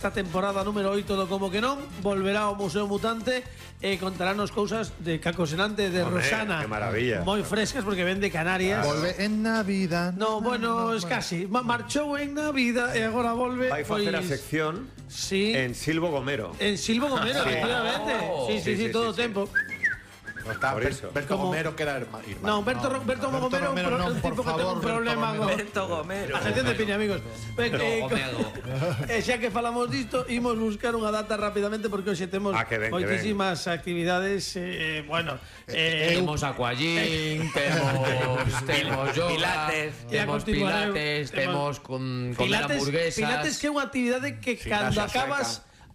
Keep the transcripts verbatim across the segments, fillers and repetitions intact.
Esta temporada número oito do Como que non volverá ao Museo Mutante e contaránnos cousas de Caco Senante, de Hombre, Rosana. qué maravilla. Moi frescas porque ven de Canarias. Volve en Navidad. No, bueno, es casi. Ma- Marchou en Navidad e agora volve. Vai facer a sección Sí. en Silvo Gomero. En Silvo Gomero, Sí. efectivamente. Oh. Sí, sí, sí, Sí, sí, todo o sí, sí. tempo. No está Por Ber- eso. Berto Como- Gomero que era herma- hermano. No, Berto, No, Ro- Berto no, Gomero, Romero, un pro- no, un por tipo que ten favor, un Berto problema Romero. con Berto Gomero. a sección de Piña, amigos. Ben, No, eh, Gomego. E xa que falamos disto, imos buscar unha data rapidamente porque hoxe temos Ah, que ben, que moitísimas actividades, eh, bueno, eh, Temos aquagym, temos temos yoga, E pilates, a temos continuareu, pilates, temos- temos con comer Pilates, hamburguesas. Pilates que é unha actividade que Sin cando graxa acabas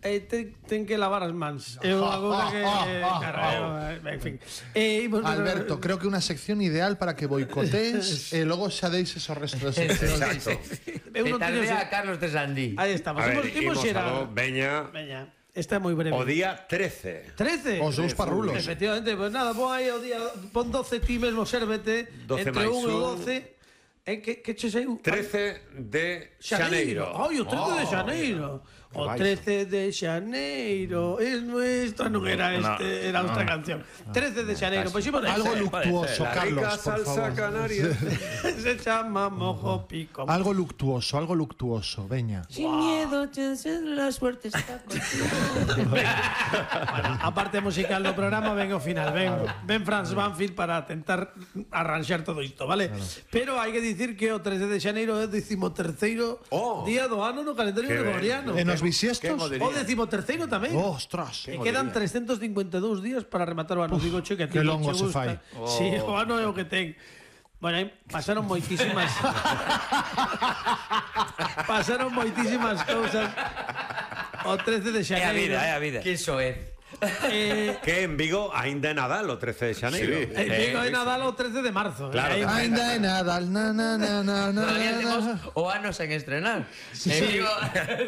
eh, ten, ten que lavar as mans. É unha cousa que eh, carreo, eh, en fin. Eh, imos- Alberto, creo que una sección ideal para que boicotees e logo xa deixes o resto de seccións. Eu non teño- Petardea a Carlos Tesandí. Aí estamos. A Imos, ver, imos imos xerar. algo, veña, Veña, esta é moi breve. o día trece. trece. Os dous parrulos. Efectivamente, pues nada, pon aí o día, pon doce ti mesmo, sérvete, doce entre máis un e un. doce. Eh, que, que che saiu? trece de Xaneiro. Ai, o trece de Xaneiro. O trece de Xaneiro. Es nuestra, non era este, era outra canción. trece de Xaneiro, pois imos Algo algo luctuoso, La Carlos, rica por salsa favor. canaria. se chama mojo pico. Algo luctuoso, algo luctuoso, veña. Sin miedo, la suerte está contigo. Bueno, a parte musical do programa ven ao final, ven, ven Franz Banfield para tentar arranxar todo isto, vale? Pero hai que dicir que o trece de Xaneiro é o decimoterceiro Oh. día do ano no calendario Que ben. gregoriano. E nos Quen bisiestos? o diría? O decimoterceiro tamén. Oh, ostras. E quedan trescentos cincuenta e dous días para rematar o ano. Digo, che, que a ti que non longo che se gusta. fai. Sí, o ano é o que ten. Bueno, aí pasaron moitísimas pasaron moitísimas cousas o trece de É a Xaneiro. vida, é a vida. Que soez. Eh, Que en Vigo aínda é Nadal o trece de Xaneiro. Sí. en Vigo é Nadal o trece de marzo. Claro. Aí- Ainda é Nadal, na na na na na Todavía temos na. o ano sen estrenar. Sí. En Vigo.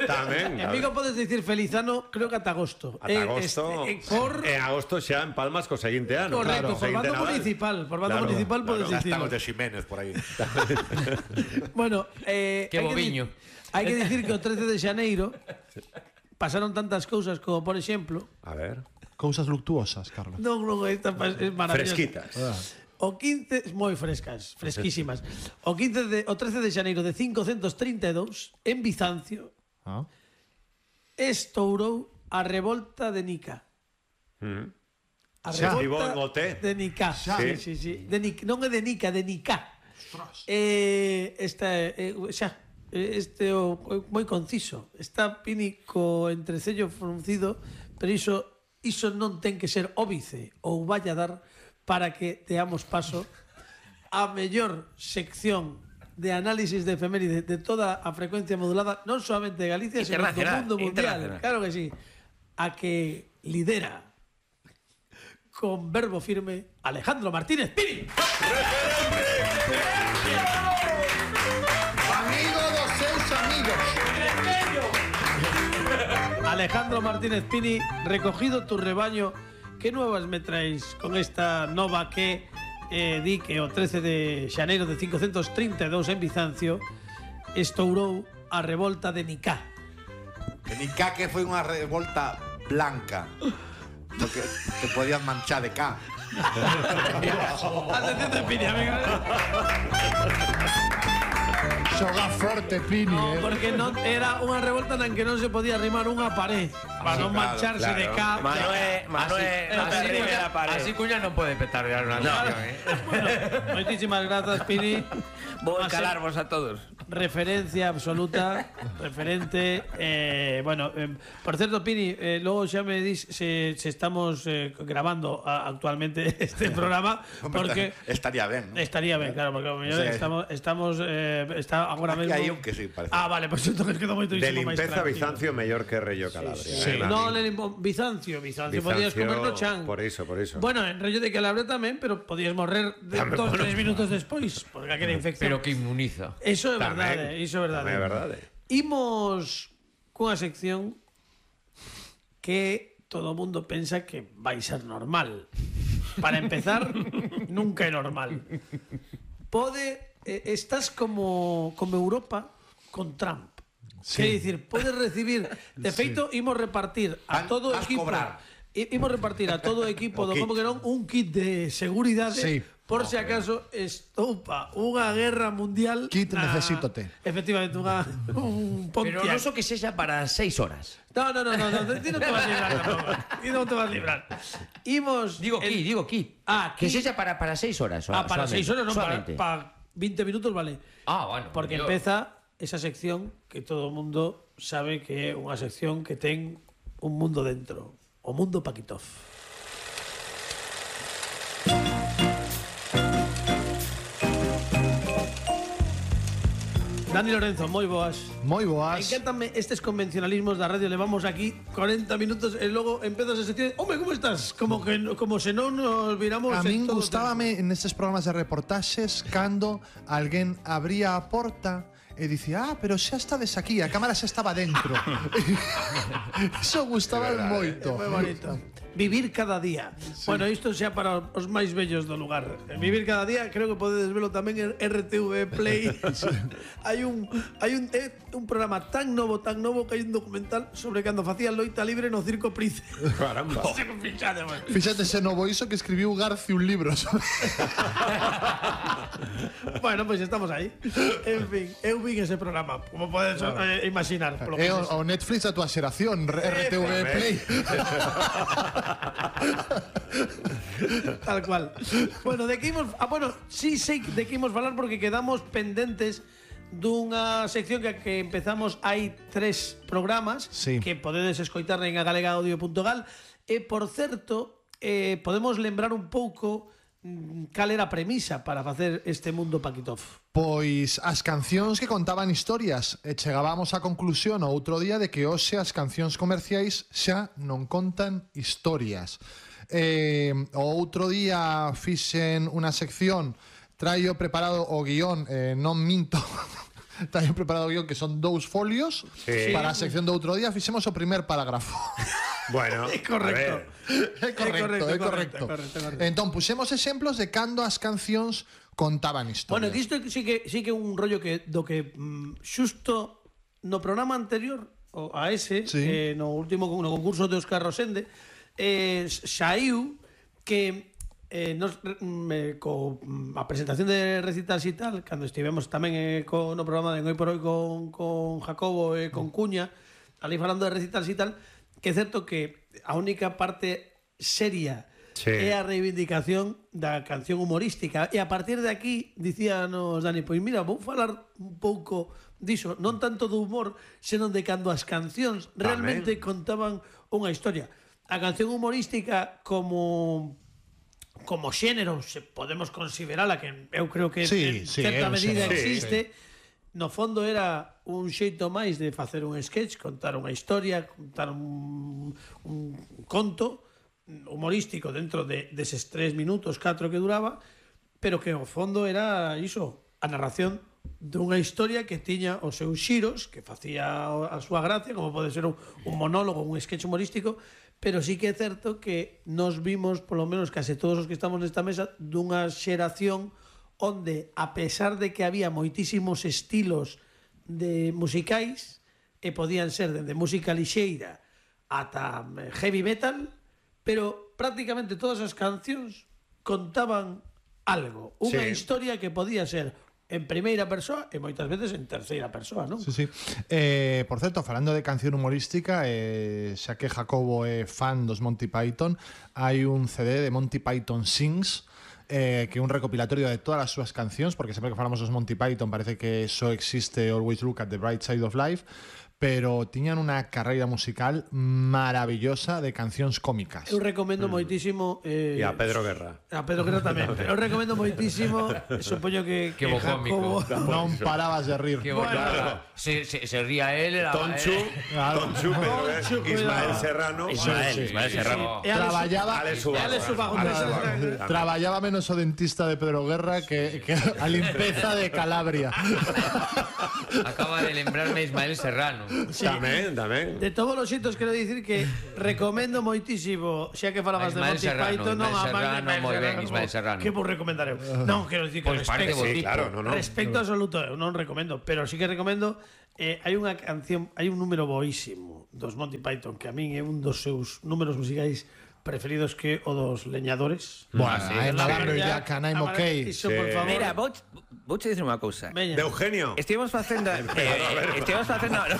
Tamén. En Vigo podes dicir feliz ano, creo que ata agosto. Ata Eh, agosto. este, eh, por En agosto xa en Palmas co seguinte ano. correcto, Claro. por bando Seguinte Nadal. municipal, por bando Claro, municipal podes Ya dicir. están os de Ximénez por aí. Bueno, eh, Que hai boviño. di- Hai que dicir que o trece de Xaneiro pasaron tantas cousas como, por exemplo, A ver. Cousas luctuosas, Carlos. non, non, esta pa- é maravillosa. Fresquitas. O quince, moi frescas, fresquísimas. O quince de o trece de Xaneiro de quinhentos trinta e dous en Bizancio Ah. estourou a revolta de Nica. Mm. A Xa. Estivo en O T. de Nica. Xa. Sí, sí, sí. De Nic, non é de Nica, de Nica. Eh, esta eh, xa eh, este o o moi conciso. Está Pínico entrecello fruncido, pero iso iso non ten que ser óbice ou vai a dar para que deamos paso á mellor sección de análisis de efeméride de toda a frecuencia modulada, non solamente de Galicia, sino do Internacional, mundo mundial. internacional. Claro que sí. A que lidera con verbo firme Alejandro Martínez Pini. Amigo dos seus amigos. Alejandro Martínez Pini, recogido tu rebaño, que nuevas me traes con esta nova que eh, di que o trece de Xaneiro de quinhentos trinta e dous en Bizancio estourou a revolta de Nicá. En Icaque foi unha revolta blanca. Porque te podías manchar de cá. Atención de Pini, amigo. Xoga forte, Pini, No, eh. porque non era unha revolta na que non se podía arrimar unha pared para non claro, mancharse de cá. Manuel, Manuel, Así- no te así arrimes Cuña- la pared. Así Cuña non pode petardear unha canción, eh. Bueno, moitísimas grazas, Pini. Vou A ser calarvos a todos. referencia absoluta, referente. Eh, bueno, eh, por cierto, Pini, eh, luego ya me dis si, si estamos eh, grabando a, actualmente este programa, porque Estaría ben, ¿no? estaría bien, claro, porque O sea, estamos, estamos eh, está ahora aquí mismo. hai un que sí, parece. Ah, vale, pues entonces quedo muy De limpeza Bizancio mellor que Reyo Calabria. Sí, eh, no, Nani. le limpo- Bizancio, Bizancio, Bizancio, podías comerlo chan. por iso, por iso. Bueno, en rollo de Calabria tamén, pero podías morrer de Tamén, dos, bueno. tres minutos despois, porque aquela infección. Pero que inmuniza. Eso é Tamén, verdade, iso é verdade. tamén é verdade. Imos cunha sección que todo o mundo pensa que vai ser normal. Para empezar, nunca é normal. Pode eh, estás como como Europa con Trump. Sí. Quer dicir, podes recibir, de feito, sí. imos repartir a Van, todo o vas equipo. cobrar. Imos repartir a todo o equipo do Como que non un kit de seguridade. Sí. Por se si acaso estoupa unha guerra mundial. Kit na... necesítote. Efectivamente, unha, un Pontiac. Pero non so que sexa para seis horas. No, no, no, no, no, ti non te vas a librar tampouco. Ti non te vas a librar. Imos... Digo el... ki, digo ki. Ah, que sexa para, para seis horas. Ah, para solamente. seis horas, non, para, Solamente. para veinte minutos vale. Ah, bueno. Porque yo... empeza esa sección que todo o mundo sabe que é unha sección que ten un mundo dentro. O mundo Paquitov. Dani Lorenzo, moi boas. Moi boas. Encántame estes convencionalismos da radio. Levamos aquí cuarenta minutos e logo empezas a sección. Home, como estás? Como que como se non nos viramos. A min gustábame en estes programas de reportaxes cando alguén abría a porta e dicía, ah, pero xa estades aquí, a cámara xa estaba dentro. Iso gustaba moito. É moi bonito. Vivir cada día. Sí. Bueno, isto xa para os máis vellos do lugar. Vivir cada día, creo que podedes velo tamén en R T V Play. Sí. hai un hai un eh, un programa tan novo, tan novo que hai un documental sobre cando facía loita libre no Circo Price. Caramba. Fíxate, man. Fíxate se novo iso que escribiu Garci un libro sobre... Bueno, pois pues estamos aí. En fin, eu vi ese programa, como podes eh, imaginar. Polo É o, o Netflix a tua xeración, R T V Play. Tal cual. Bueno, de que imos, ah, bueno, sí sei de que imos falar porque quedamos pendentes dunha sección que, que empezamos hai tres programas, sí, que podedes escoitar en agalega audio punto gal. E por certo, eh, podemos lembrar un pouco cal era a premisa para facer este mundo Paquitov. Pois as cancións que contaban historias, e chegábamos á conclusión o outro día de que hoxe as cancións comerciais xa non contan historias. Eh, o outro día fixen unha sección, traio preparado o guión, eh, non minto, traio preparado o guión que son dous folios, sí, para a sección do outro día fixemos o primer parágrafo. Bueno, é correcto. É correcto, é correcto. Entón, puxemos exemplos de cando as cancións contaban historias. Bueno, que isto sí que sí que un rollo que do que mm, xusto no programa anterior o a ese, sí, eh, no último no concurso de Óscar Rosende, eh, xaiu que eh, nos, me, co a presentación de recitas e tal, cando estivemos tamén eh, co, no programa de Hoy por Hoy con, con Jacobo e eh, con Cuña, ali falando de recitas e tal, que é certo que a única parte seria, sí, é a reivindicación da canción humorística, e a partir de aquí dicíanos Dani, pois mira, vou falar un pouco diso, non tanto do humor, senón de cando as cancións realmente Amén. Contaban unha historia. A canción humorística como como xénero, se podemos considerala, que eu creo que sí, en sí, certa medida sí, existe, sí. No fondo era un xeito máis de facer un sketch, contar unha historia, contar un, un conto humorístico dentro de deses tres minutos, catro que duraba, pero que ao fondo era iso, a narración dunha historia que tiña os seus xiros, que facía a súa gracia, como pode ser un, un monólogo, un sketch humorístico, pero sí que é certo que nos vimos, polo menos case todos os que estamos nesta mesa, dunha xeración onde, a pesar de que había moitísimos estilos de musicais, e podían ser desde música lixeira ata heavy metal, pero prácticamente todas as cancións contaban algo, unha sí. historia que podía ser en primeira persoa e moitas veces en terceira persoa, non? Sí, sí. Eh, por certo, falando de canción humorística, eh, xa que Jacobo é fan dos Monty Python, hai un C D de Monty Python Sings, eh, que é un recopilatorio de todas as súas cancións, porque sempre que falamos dos Monty Python parece que só existe Always Look at the Bright Side of Life, pero tiñan unha carreira musical maravillosa de cancións cómicas. Eu recomendo mm. moitísimo eh, e a Pedro Guerra. A Pedro Guerra tamén. Eu recomendo moitísimo, supoño que, que, que Jacobo non parabas de rir. Que bueno, claro. se, se, se ría él, era Tonchu, eh. claro. Tonchu, pero Tonchu, Ismael Serrano, Ismael, sí, Ismael Serrano. Sí, sí. Traballaba, Ale traballaba menos o dentista de Pedro Guerra que, que a limpeza de Calabria. Acaba de lembrarme Ismael Serrano. Sí. Tamén, tamén. De todos os xeitos quero dicir que recomendo moitísimo, xa que falabas de Monty Python, non a Serrano, moi ben, Ismael Serrano. Que vos recomendar eu? Non, quero dicir que pues respecto, sí, claro, no, no. respecto absoluto eu non recomendo, pero sí que recomendo Eh, hai unha canción, hai un número boísimo dos Monty Python que a min é un dos seus números musicais preferidos que o dos leñadores. Bueno, I am a Ya, Jack and I'm a- okay. Iso, por favor. Mira, vou vouche dicir unha cousa. Veña. De Eugenio. Estivemos facendo eh, estivemos facendo no,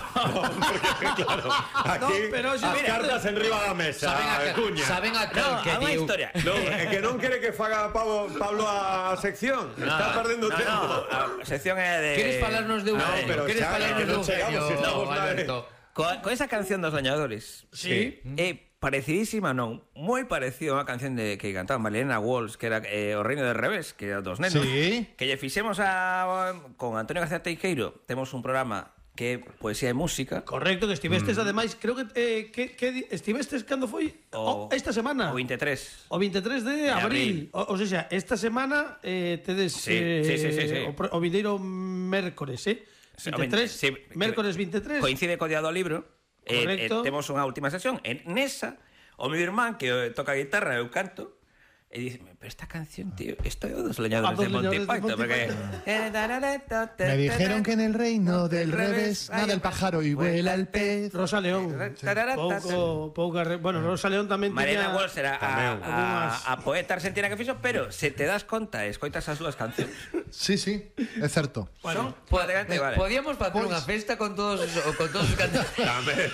Claro, aquí No, pero as xa- mira, cartas en riba da mesa. Saben a, Cuña. saben a no, que a unha diu historia. No, é que non quere que faga Pablo, Pablo a sección. Está perdendo no, tempo. no, a sección é de Queres falarnos de No, Eugenio? pero Queres xa, falarnos que de non chegamos, Eugenio, estamos na- Alberto? Con, con esa canción dos leñadores. Sí. É parecidísima, non? Moi parecido a unha canción de que cantaba Marilena Walsh, que era eh, O Reino del Revés, que era dos nenos. Sí. Que lle fixemos a con Antonio García Teijeiro, temos un programa que é poesía e música. Correcto, que estivestes ademais, creo que eh, que, que di- estivestes cando foi O- o, esta semana. O veintitrés. O veintitrés de abril. abril. O, o sea, esta semana eh, tedes Sí, eh, sí, sí, sí, sí. o, pro- o vindeiro mércores, eh? Sí, o veintitrés, veinte- sí, mércores veintitrés. Coincide co día do libro. Eh, eh, Correcto. temos unha última sesión. En nesa, o meu irmán, que eh, toca a guitarra e eu canto, e dice, pero esta canción, tío, isto é o dos leñadores A dos de Monty leñadores de Python, Monty porque... Me dijeron que en el reino del revés nada el pájaro y vuela el pez. Rosa León. Pouco, pouca re... Bueno, Rosa León tamén Mariana tiña... Walsh era a, Tamén. a, a poeta argentina que fixo, pero se te das conta e escoitas as súas cancións, Sí, sí, é certo. son Po- prácticamente eh, iguales. Podíamos facer Pois- unha festa con todos os, o- con todos os cantantes Tamén.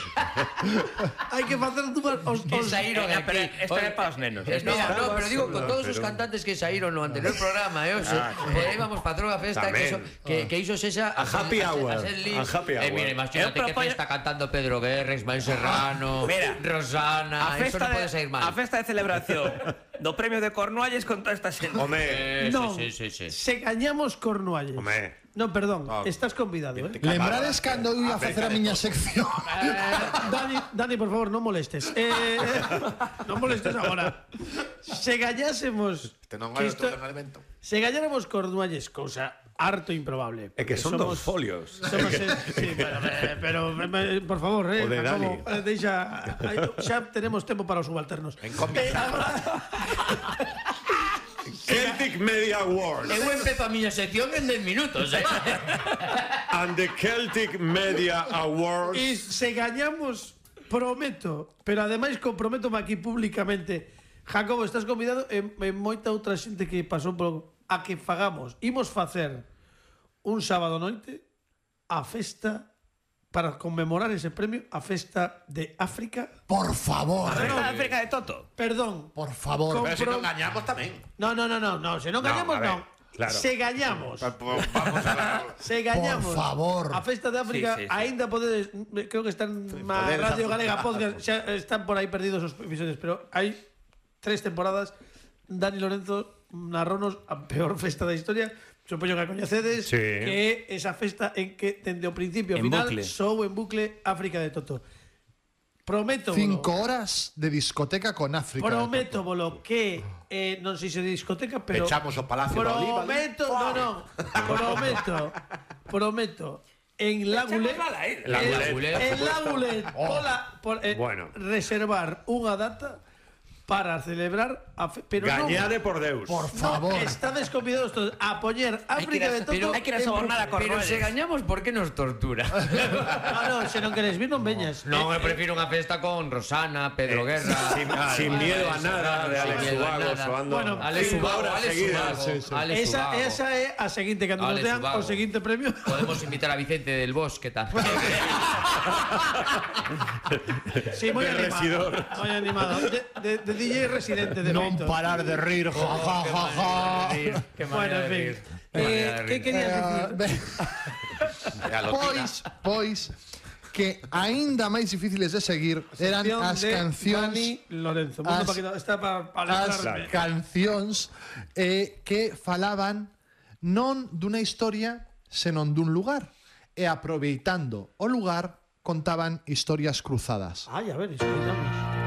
Hai que facer dúas os, que os... saíron Eh, pero aquí. esto é para os nenos, Eh, esto. Mira, no, pero digo, con No, todos os pero- cantantes que saíron no anterior programa, eh, o sea, podíamos facer unha festa que, Tamén. iso, que, que iso sexa A happy ser- hour, ser libre. a happy Eh, hour. mira, imagínate Eu que propoño- festa cantando Pedro Guerra, Ismael Serrano, Mira, Rosana, a eso festa, non pode sair de, mal. a festa de celebración do premio de Cornualles con toda esta xente. Home, Eh, Non, sí, sí, sí, sí. se gañamos Cornualles. Home. No, perdón, No. estás convidado, eh? Lembrades cando eu ia facer a miña sección. Eh, Dani, Dani, por favor, non molestes. Eh, non molestes agora. Se gañásemos... Este non que é isto- outro elemento. Se gañáramos Cornualles, cousa harto improbable. é que son Somos- dos folios. Somos, eh, sí, pero, eh, pero eh, por favor, eh, O de Jacobo, Dani. eh, deixa, eh, xa tenemos tempo para os subalternos. En cómic. Eh, agora- Celtic Media Awards Eu empezo a miña sección en dez minutos, eh. and the Celtic Media Awards. E se gañamos, prometo, pero ademais comprométome aquí públicamente, Jacobo, estás convidado e, e moita outra xente que pasou por a que fagamos. Imos facer un sábado noite a festa para conmemorar ese premio, a festa de África. Por favor, A festa de África de Toto. Perdón. por favor. Con- Pero se non gañamos tamén. No, no, no, no, no, se non No, gañamos a ver, non. claro. Se gañamos. Pues vamos a la... Se gañamos. Por favor. A festa de África Sí, sí, sí. aínda podedes, creo que están na podedes Radio hacer- Galega Podcast, xa están por aí perdidos os episodios, pero hai tres temporadas. Dani Lorenzo narronos a peor festa da historia. Supoño que a coñecedes, Sí. que é esa festa en que dende o principio ao En final bucle. sou en bucle África de Toto. Prometo Cinco horas de discoteca con África. Prometo bolo que eh, non sei se de discoteca, pero Echamos o Palacio da Oliva, prometo, no, no, prometo, prometo en la Gulet, La en- Gulet. en la Gulet, pola, por, eh, Bueno. reservar unha data para celebrar a fe, pero non, Gañade por Deus. Por no, favor. estades convidados todos a poñer África de Toto. Hay que ir a en sobornar a bucle. Pero Cornualles. se gañamos, por que nos tortura? No, no, se non queres vir non veñas. Non, Eh, eu prefiro unha festa con Rosana, Pedro Guerra. Sin, sin miedo a nada de Sin Alex miedo a Ubago nada. soando Bueno, Alex cinco Ubago, horas Alex seguidas. Ubago, Sí, sí. Alex esa, Ubago. esa é a seguinte cando nos Alex dean Ubago. o seguinte premio. Podemos invitar a Vicente del Bosque tamén. Sí, moi De animado. residor. Moi animado. De, de, de D J residente de Non feito. parar de rir, ja, ja, ja, ja. Qué Bueno, manera en de fin. rir. Qué Eh, manera de ¿Qué rir. querías Eh, decir? ben, E a lotina. pois, pois, que aínda máis difíciles de seguir eran Sección as de cancións Dani Lorenzo. Mundo as- Paquito, está para pa as alegrarme. cancións eh, que falaban non dunha historia, senón dun lugar. E aproveitando o lugar, contaban historias cruzadas. Ay, a ver, escoitamos.